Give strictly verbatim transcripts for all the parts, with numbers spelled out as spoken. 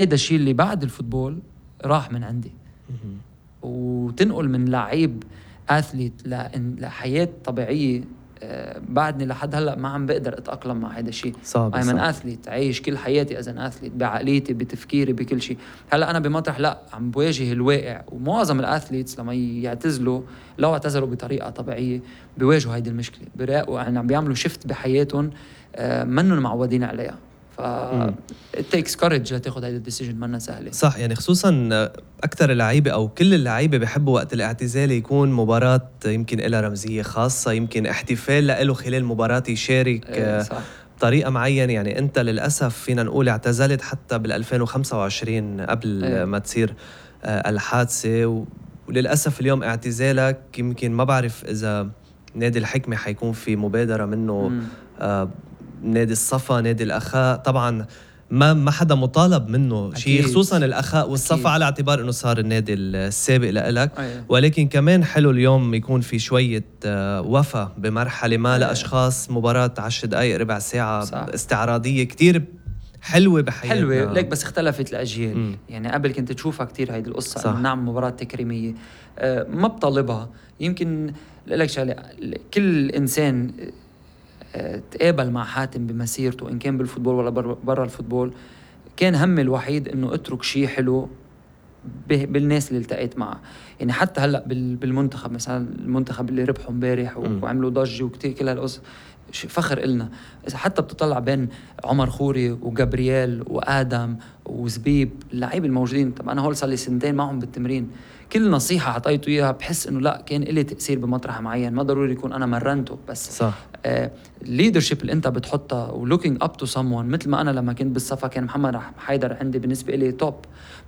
هيدا الشيء اللي بعد الفوتبول راح من عندي. وتنقل من لعيب اثليت لحياة طبيعية. أه بعدني لحد هلا ما عم بقدر اتأقلم مع هيدا الشيء. صعب I'm an athlete، عايش كل حياتي as an athlete، بعقليتي بتفكيري بكل شيء. هلا انا بمطرح لا عم بواجه الواقع، ومعظم الاثليتس لما يعتزلوا لو اعتزلوا بطريقة طبيعية بيواجهوا هيدي المشكلة، بيراقوا يعني عم بيعملوا شيفت بحياتهم أه منهم معودين عليها. ف it takes courage لتاخد هيدا الديسيجن، منا سهلة. صح، يعني خصوصا أكتر اللعيبة أو كل اللعيبة بيحبوا وقت الاعتزال يكون مباراة يمكن إلها رمزية خاصة، يمكن احتفال لإله خلال المباراة يشارك إيه صح. بطريقة معينة. يعني أنت للأسف فينا نقول اعتزلت حتى بالألفين وخمسة وعشرين قبل إيه. ما تصير الحادثة، وللأسف اليوم اعتزالك يمكن ما بعرف إذا نادي الحكمة حيكون في مبادرة منه، آه نادي الصفا، نادي الأخاء. طبعا ما ما حدا مطالب منه شيء، خصوصا الأخاء والصفا أكيد. على اعتبار انه صار النادي السابق لإلك. أيه. ولكن كمان حلو اليوم يكون في شوية وفا بمرحلة ما أيه. لأشخاص، مباراة عشر دقائق ربع ساعة صح. استعراضية كتير حلوة بحياتنا. حلوة ليك، بس اختلفت الأجيال. م. يعني قبل كنت تشوفها كتير هيدي القصة، إنه نعم مباراة تكريمية أه ما بطالبها. يمكن لك شغلة، كل إنسان تقابل مع حاتم بمسيرته إن كان بالفوتبول ولا برا الفوتبول، كان هم الوحيد إنه اترك شيء حلو بالناس اللي التقيت معه. يعني حتى هلأ بالمنتخب مثلا، المنتخب اللي ربحوا امبارح وعملوا ضجة وكتير كل هالقصة، فخر إلنا. إذا حتى بتطلع بين عمر خوري وجابرييل وآدم وزبيب اللعيبة الموجودين، طب أنا هول صار لي سنتين معهم بالتمرين، كل نصيحة حطيته إياها بحس إنه لا كان إلي تأثير بمطرح معين، ما ضروري يكون أنا مرنته بس صح. آه leadership اللي أنت بتحطها و looking up to someone. مثل ما أنا لما كنت بالصفا كان محمد حيدر عندي بالنسبة إلي توب،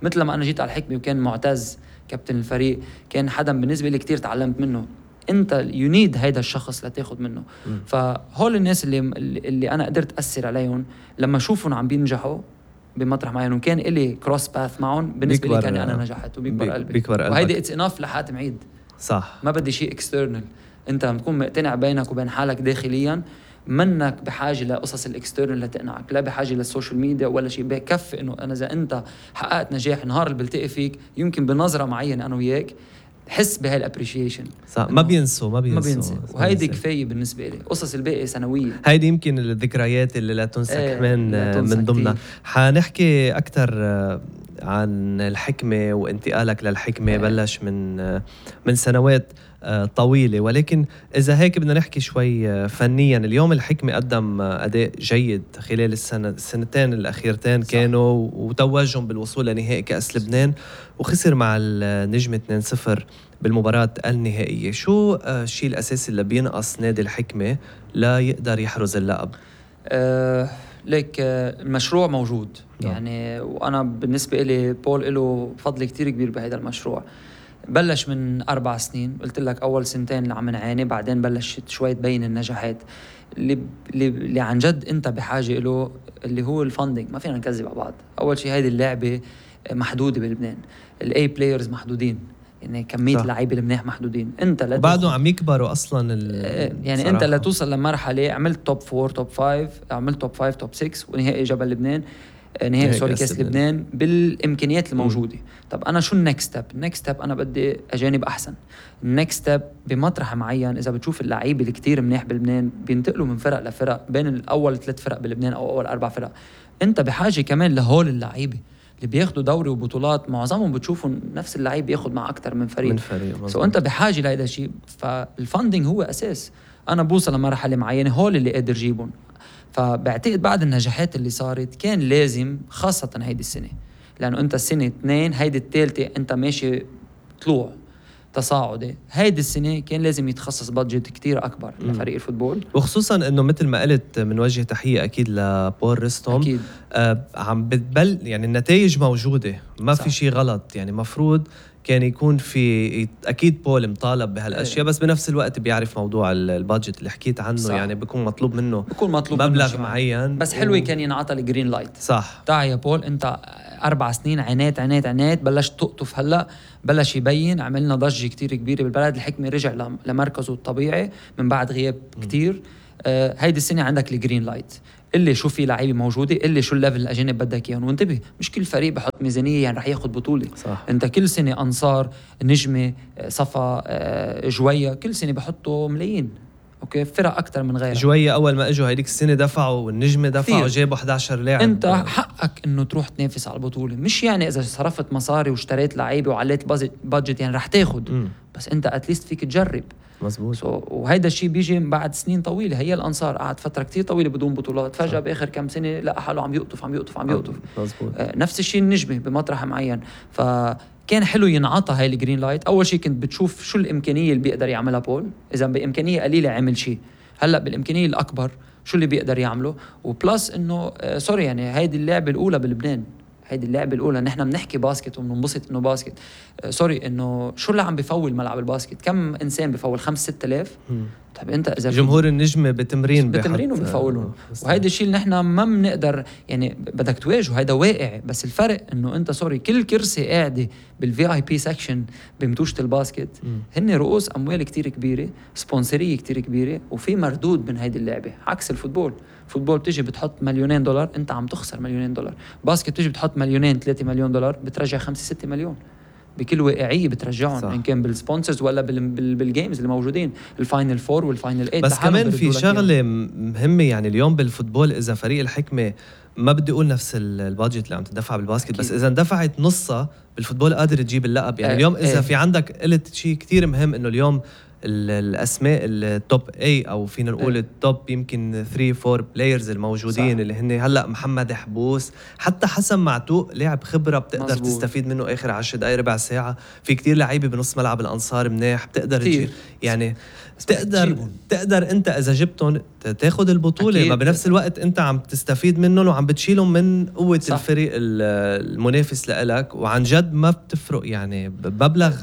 مثل لما أنا جيت على الحكمة وكان معتز كابتن الفريق كان حدا بالنسبة لي كتير تعلمت منه. أنت you need هيدا الشخص لتاخد منه. م. فهول الناس اللي اللي أنا قدرت أثر عليهم لما أشوفهم عم بينجحوا بمطرح معين وكان إلي كروس باث معهم، بالنسبة لي كان أنا نجحت وبيكبر بي قلبي. بيكبر قلبك. وهيدي اتس اناف لحاتم عيد. صح، ما بدي شيء اكسترنال. انت بتكون مقتنع بينك وبين حالك داخليا، منك بحاجة لقصص الاكسترنال لتقنعك، لا بحاجة للسوشيال ميديا ولا شيء. بكفي انه انا اذا انت حققت نجاح نهار اللي بلتقي فيك يمكن بنظرة معينة انا وياك حس بهاي الابريشيشن. صح، ما بينسوا ما بينسوا, ما بينسوا. وهيدي كفاية بالنسبة لي. قصص الباقي سنوية، هيدي يمكن الذكريات اللي لا تنسى ايه كمان لا تنسى من ضمنها. كتير. حنحكي أكتر عن الحكمة وانتقالك للحكمة. ايه. بلش من من سنوات طويلة، ولكن إذا هيك بدنا نحكي شوي فنيا. اليوم الحكمة قدم أداء جيد خلال السنة السنتين الأخيرتين، كانوا وتوجهم بالوصول لنهائي كأس لبنان، وخسر مع النجم اثنين صفر بالمباراة النهائية. شو الشيء الأساسي اللي بينقص نادي الحكمة لا يقدر يحرز اللقب؟ أه ليك المشروع موجود. نعم. يعني وأنا بالنسبة إلي بول له فضل كتير كبير بهذا المشروع. بلش من أربع سنين، قلت لك أول سنتين اللي عم نعاني، بعدين بلشت شوي تبين النجاحات اللي, اللي عن جد أنت بحاجة له، اللي هو الفاندينج. ما فينا نكذب على بعض. أول شيء هيدي اللعبة محدودة بلبنان، الاي بلايرز محدودين، يعني كمية لعيبة المناح محدودين. انت لا بعده عم يكبروا اصلا يعني صراحة. انت لا توصل لمرحلة عملت توب فور توب فايف، عملت توب فايف توب سكس، ونهائي جبل لبنان، نهائي سوري كاس لبنان بالامكانيات الموجودة. م. طب انا شو النكست ستيب؟ النكست ستيب انا بدي اجانب احسن. النكست ستيب بمطرح معين، اذا بتشوف اللعيبة اللي كتير منيح بلبنان بينتقلوا من فرق لفرق، بين الاول ثلاث فرق بلبنان او اول اربع فرق. انت بحاجة كمان لهول اللعيبة اللي بياخدوا دوري وبطولات، معظمهم بتشوفوا نفس اللعيب بياخد مع أكتر من فريق. من فريق سو أنت بحاجة لهذا الشيء. فالفاندينج هو أساس. أنا بوصل لمرحلة معينة هول اللي قادر جيبهم. فبعتقد بعد النجاحات اللي صارت كان لازم، خاصة هيدي السنة، لأنه أنت السنة اثنين هيدي الثالثة أنت ماشي طلوع تصاعدي. هيدي السنة كان لازم يتخصص بادجت كتير أكبر م. لفريق الفوتبول، وخصوصا أنه مثل ما قلت منوجه تحية أكيد لبول رستم. أكيد. آه عم بتبل يعني النتائج موجودة، ما صح. في شيء غلط. يعني مفروض كان يكون في أكيد بول مطالب بهالأشياء، أيه. بس بنفس الوقت بيعرف موضوع البادجت اللي حكيت عنه. صح. يعني بيكون مطلوب منه بيكون مطلوب مبلغ معين، بس حلوة و... كان ينعطى الجرين لايت. صح. تعال يا بول، أنت أربع سنين عنات عنات عنات، بلش تقطف هلأ، بلش يبين، عملنا ضجة كتير كبيرة بالبلد. الحكمة رجع لمركزه الطبيعي من بعد غياب م. كتير. آه هيدي السنة عندك الجرين لايت، اللي شو في لعيبه موجوده، اللي شو الليفل الاجانب بدك اياهم. وانتبه مش كل فريق بحط ميزانيه يعني رح ياخذ بطوله. صح. انت كل سنه انصار، نجمه، صفا، جويه، كل سنه بحطوا ملايين. اوكي فرق اكثر من غيرها. جويه اول ما اجوا هيديك السنه دفعوا، والنجمه دفعوا، جابوا إحدى عشر لاعب. انت حقك انه تروح تنافس على البطوله، مش يعني اذا صرفت مصاري واشتريت لعيبه وعليت بادجت يعني رح تاخذ، بس انت اتليست فيك تجرب. مزبوط. so, وهيدا الشيء بيجي بعد سنين طويله. هي الانصار قعد فتره كتير طويله بدون بطولات، فجاه باخر كم سنه لقى حاله عم يقطف عم يقطف عم يقطف. مزبوط. آه نفس الشيء النجمه بمطرح معين. فكان حلو ينعطى هاي الجرين لايت. اول شيء كنت بتشوف شو الامكانيه اللي بيقدر يعملها بول، اذا بامكانيه قليله عمل شيء، هلا بالامكانيه الاكبر شو اللي بيقدر يعمله. وبلس انه آه سوري يعني هيدي اللعبه الاولى بلبنان، هيدي اللعبه الاولى. نحن بنحكي باسكت وبننبسط انه باسكت. آه سوري انه شو اللي عم بفول ملعب الباسكت؟ كم انسان بفول؟ خمس ست آلاف. طيب انت اذا جمهور النجمه بتمرين بتمرين وبفولهم. وهيدا الشيء اللي نحن ما بنقدر يعني بدك تواجهه، هيدا واقع. بس الفرق انه انت سوري كل كرسي قاعده بالفي اي بي سكشن بمتوشه الباسكت هن رؤوس اموال كتير كبيره، سبونسريه كتير كبيره، وفي مردود من هيدي اللعبه. عكس الفوتبول، الفوتبول بتيجي بتحط مليونين دولار انت عم تخسر مليونين دولار. باسكت بتيجي بتحط مليونين ثلاثة مليون دولار بترجع خمسة ستة مليون. بكل واقعيه بترجعهم، ان كان بالسبونسرز ولا بال بال بالجيمز اللي موجودين، الفاينل فور والفاينل ايت. بس كمان في شغله مهمه يعني اليوم بالفوتبول، اذا فريق الحكمه ما بدي اقول نفس البادجت اللي عم تدفع بالباسكت أكيد. بس اذا اندفعت نصها بالفوتبول قادر تجيب اللقب. يعني آه اليوم اذا آه. في عندك قلت شيء كتير مهم، انه اليوم الاسماء التوب اي او فينا نقول التوب يمكن ثلاثة أربعة بلايرز الموجودين صح. اللي هن هلا محمد حبوس، حتى حسن معتوق لاعب خبره بتقدر مزبوط. تستفيد منه اخر عشر دقائق ربع ساعه. في كتير لعيبه بنص ملعب الانصار منيح بتقدر تجي يعني تقدر جيبون. تقدر انت اذا جبتهم تاخذ البطوله أكيد. ما بنفس الوقت انت عم تستفيد منهم وعم بتشيلهم من قوه صح. الفريق المنافس لإلك. وعن جد ما بتفرق يعني بمبلغ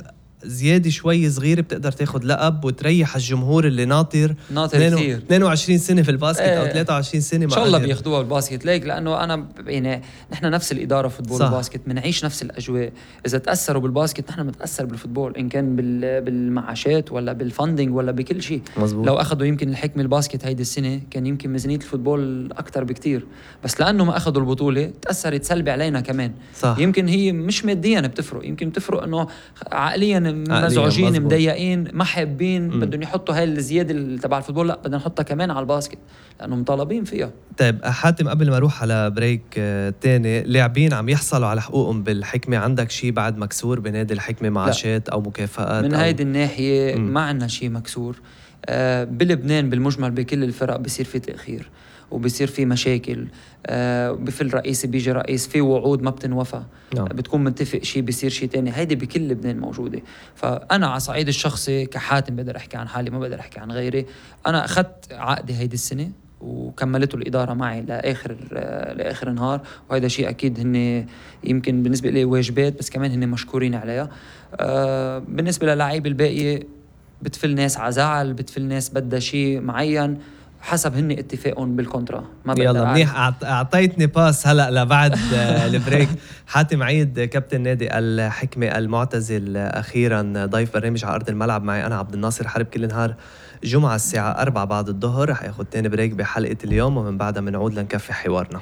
زيادة شوي صغيرة بتقدر تاخد لقب وتريح الجمهور اللي ناطر ناطر كثير اثنين وعشرين سنة في الباسكت ايه. أو ثلاثة وعشرين سنة إن شاء الله بياخدوها بالباسكت. ليك لأنه أنا يعني نحن نفس الإدارة فوتبول والباسكت بنعيش نفس الأجواء. إذا تأثروا بالباسكت نحن بنتأثر بالفوتبول، إن كان بالمعاشات ولا بالفندنج ولا بكل شيء. لو أخذوا يمكن الحكمة الباسكت هيدي السنة كان يمكن ميزانية الفوتبول أكتر بكتير، بس لأنه ما أخذوا البطولة تأثرت سلبي علينا كمان صح. يمكن هي مش ماديا بتفرق، يمكن بتفرق إنه عقليا مزعوجين مضايقين ما حابين بدهم يحطوا هاي الزياده تبع الفوتبول، لا بدنا نحطها كمان على الباسكت لانه مطالبين فيها. طيب حاتم قبل ما اروح على بريك آه تاني، لاعبين عم يحصلوا على حقوقهم بالحكمه، عندك شيء بعد مكسور بنادي الحكمه معاشات او مكافآت؟ من أو هيدي الناحيه مم. ما عندنا شيء مكسور. آه بلبنان بالمجمل بكل الفرق بصير في تاخير وبصير في مشاكل. آه بفل رئيس بيجي رئيس في وعود ما بتنوفى نعم. بتكون متفق شيء بيصير شيء تاني. هيدي بكل لبنان موجودة. فأنا على صعيد الشخصي كحاتم بقدر أحكي عن حالي، ما بقدر أحكي عن غيري. أنا أخذت عقدي هيدي السنة وكملته الإدارة معي لآخر آه لآخر نهار، وهذا شيء أكيد هن يمكن بالنسبة لي واجبات، بس كمان هن مشكورين عليها. آه بالنسبة للاعب الباقي بتفل ناس عزعل، بتفل ناس بدها شيء معين حسب هن اتفاقهم بالكونترا. ما يلا منيح اعطيتني باس هلا لبعد البريك. حاتم عيد كابتن نادي الحكمه المعتزل اخيرا ضيف برنامج على ارض الملعب معي انا عبد الناصر حرب كل نهار جمعه الساعه أربعة بعد الظهر. رح ياخذ تاني بريك بحلقه اليوم ومن بعدها بنعود لنكفي حوارنا.